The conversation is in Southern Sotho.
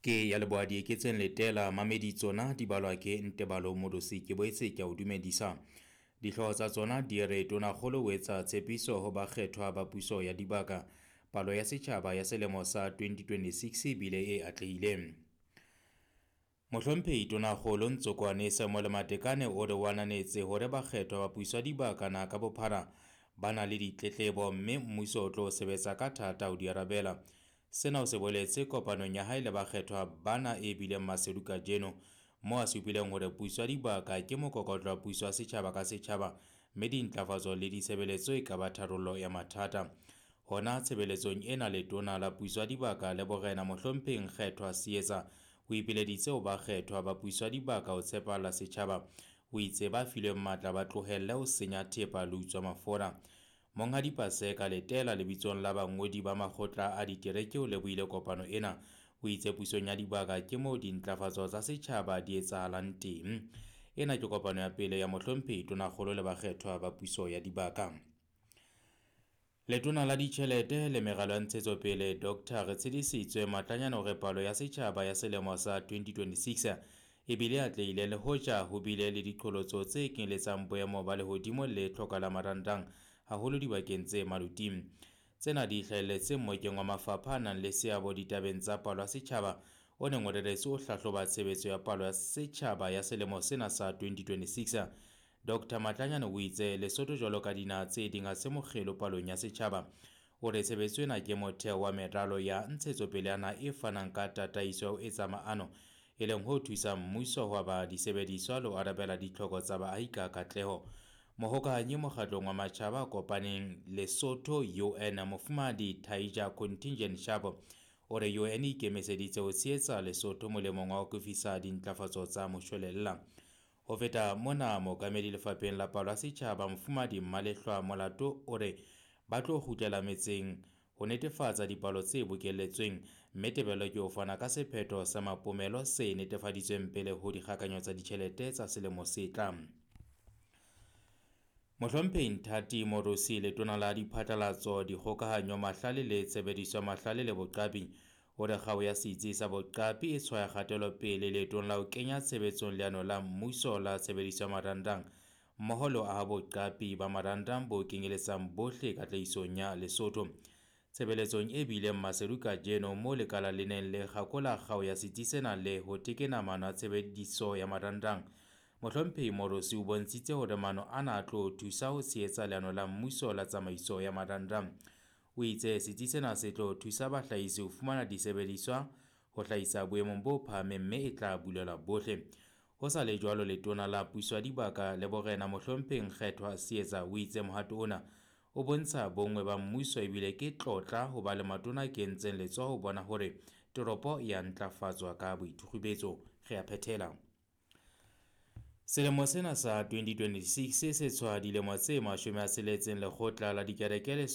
Ke ya leboha Dieketseng Letela mamedi tsona di balwa ke Ntebalo Modosi ke boetse ke a o dumedisa. Dihlooho tsa tsona di re Tonakgolo o etsa tshepiso ho bakgethwa ba puso ya dibaka. Palo ya setjhaba ya selemo sa 2026 e bile e atlehileng. Mohlomphehi Tonakgolo Ntsokoane Samuel Matekane o re o ananetse hore bakgethwa ba puso ya dibaka naha ka bophara ba na le ditletlebo mme mmuso o tlo sebetsa ka thata ho di arabela. Sena o se boletse kopanong ya hae le bakgethwa bana e bileng Maseru kajeno, moo a supileng hore puso ya dibaka ke mokokotlo wa puso ya setjhaba ka setjhaba mme dintlafatso le ditshebeletso e ka ba tharollo ya mathata. Hona tshebeletsong ena letona la puso ya dibaka le borena Mohlomphehi Nkgethwa Seetsa o ipileditse ho bakgethwa ba puso ya dibaka ho tshepahalla setjhaba. O itse ba filweng matla ba tlohelle ho senya thepa le ho utswa mafura. Monghadi Paseka Letela lebitsong la bangodi ba makgotla a ditereke o lebohile kopano ena. O itse pusong ya dibaka ke moo dintlafatso tsa setjhaba di etsahalang teng. Ena ke kopano ya pele ya Mohlomphehi Tonakgolo le bakgethwa ba puso ya dibaka. Letona la ditjhelete le meralo ya ntshetsopele Dr. Retshedisitswe Matlanyane hore palo ya setjhaba ya selemo sa 2026 e bile atlehile le hoja ho bile le diqholotso tse kenyeletsang boemo ba lehodimo le tlhoka la marangrang haholo dibakeng tse maluting. Tsena di hlahelletse mmokeng wa mafapha a nang le seabo ditabeng tsa palo ya setjhaba o neng o reretswe ho hlahloba tshebetso ya palo ya setjhaba ya selemo sena sa 2026. Dr. Matlanyane o itse Lesotho jwalo ka dinaha tse ding ha se mokgelo palong ya setjhaba. O re tshebetso ena ke motheo wa meralo ya ntshetsopele ya naha e fanang ka tataiso ya ho etsa maano, e leng ho thusang mmuso ho aba disebediswa le ho arabela ditlhoko tsa baahi ka katleho. Mohokahanyi mokgatlong wa matjhaba a kopaneng Lesotho UN Mofumahadi Taija Contingent Sharp o re UN e ikemiseditse ho tshehetsa Lesotho molemong wa ho akofisa dintlafatso tsa moshwelella. Ho feta mona, mookamedi lefapheng la palo ya setjhaba Mofumahadi Mmalehlwa Molato o re ba tlo kgutlela metseng ho netefatsa dipalo tse bokelletsweng, mme tebello ke ho fana ka sephetho sa mapomelo se netefaditsweng pele ho dikgakanyo tsa ditjhelete tsa selemo se tlang. Mohlomphehi Nthati Moorosi letona la diphatlalatso, dikgokahanyo, mahlale le tshebediso ya mahlale le boqapi o re kgao ya setsi sa boqapi e tshwaya kgatelopele leetong la ho kenya tshebetsong leano la mmuso la tshebediso ya marangrang mmoho le ho aha boqapi ba marangrang bo kenyeletsang bohle katlehisong ya Lesotho. Tshebeletsong e bileng Maseru kajeno moo lekala le neng le kgakola kgao ya setsi sena le ho tekena maano a tshebediso ya marangrang, Mohlomphehi Moorosi o bontshitse hore maano ana a tlo thusa ho tshehetsa leano la mmuso la tsamaiso ya marangrang. O itse setsi sena se tlo thusa bahlahisi ho fumana disebediswa ho hlahisa boemong bo phahameng mme e tla bulelwa bohle. Ho sa le jwalo, letona la puso ya dibaka le borena Mohlomphehi Nkgethwa Seetsa o itse mohato ona o bontsha bonngwe ba mmuso ebile ke tlotla ho ba le matona a kentseng letsoho ho bona hore toropo ya ntlafatswa ka boithukgubetso. Re a phethela. Selemo sena sa 2026 se tshwaya dilemo tse 60 lekgotla la dikereke le